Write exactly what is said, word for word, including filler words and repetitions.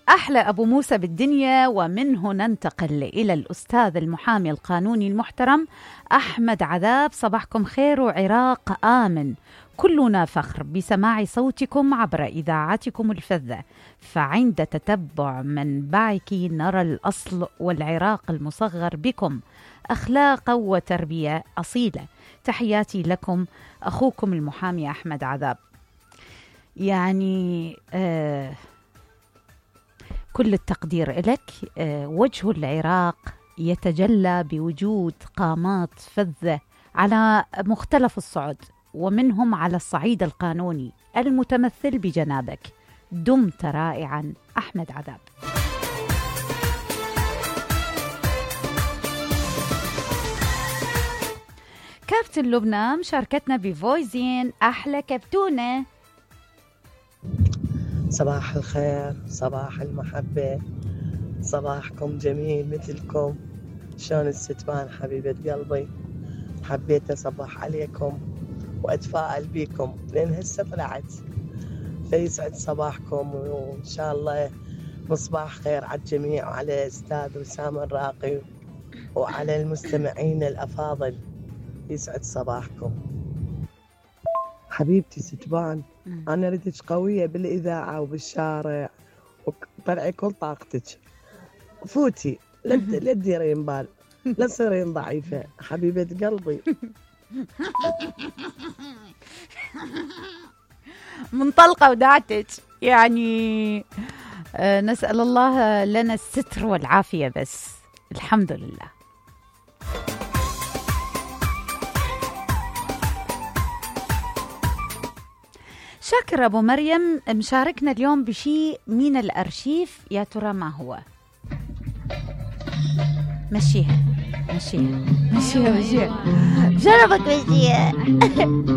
أحلى أبو موسى بالدنيا. ومنه ننتقل إلى الأستاذ المحامي القانوني المحترم أحمد عذاب. صباحكم خير وعراق آمن، كلنا فخر بسماع صوتكم عبر إذاعتكم الفذة، فعند تتبع منبعك نرى الأصل والعراق المصغر بكم أخلاقا وتربية أصيلة. تحياتي لكم أخوكم المحامي أحمد عذاب. يعني آه كل التقدير لك. آه وجه العراق يتجلى بوجود قامات فذة على مختلف الصعد، ومنهم على الصعيد القانوني المتمثل بجنابك. دمت رائعا أحمد عذاب. كابتن لبنى مشاركتنا بفويزين أحلى كابتونة. صباح الخير، صباح المحبة، صباحكم جميل مثلكم. شلون الستمان حبيبة قلبي؟ حبيت أصبح عليكم وأتفائل بيكم لأن هسه طلعت، فيسعد صباحكم وإن شاء الله مصباح خير على الجميع وعلى أستاذ وسام الراقي وعلى المستمعين الأفاضل. يسعد صباحكم حبيبتي ستبان. أنا ردك قوية بالإذاعة وبالشارع وطلعي كل طاقتك. فوتي لا تديرين بال، لا تصيرين ضعيفة حبيبة قلبي. منطلقة ودعتك يعني. آه نسأل الله لنا الستر والعافية بس الحمد لله. شاكر أبو مريم مشاركنا اليوم بشيء من الأرشيف، يا ترى ما هو؟ مشيها مشيها مشيها مشيها شرفك مشيها.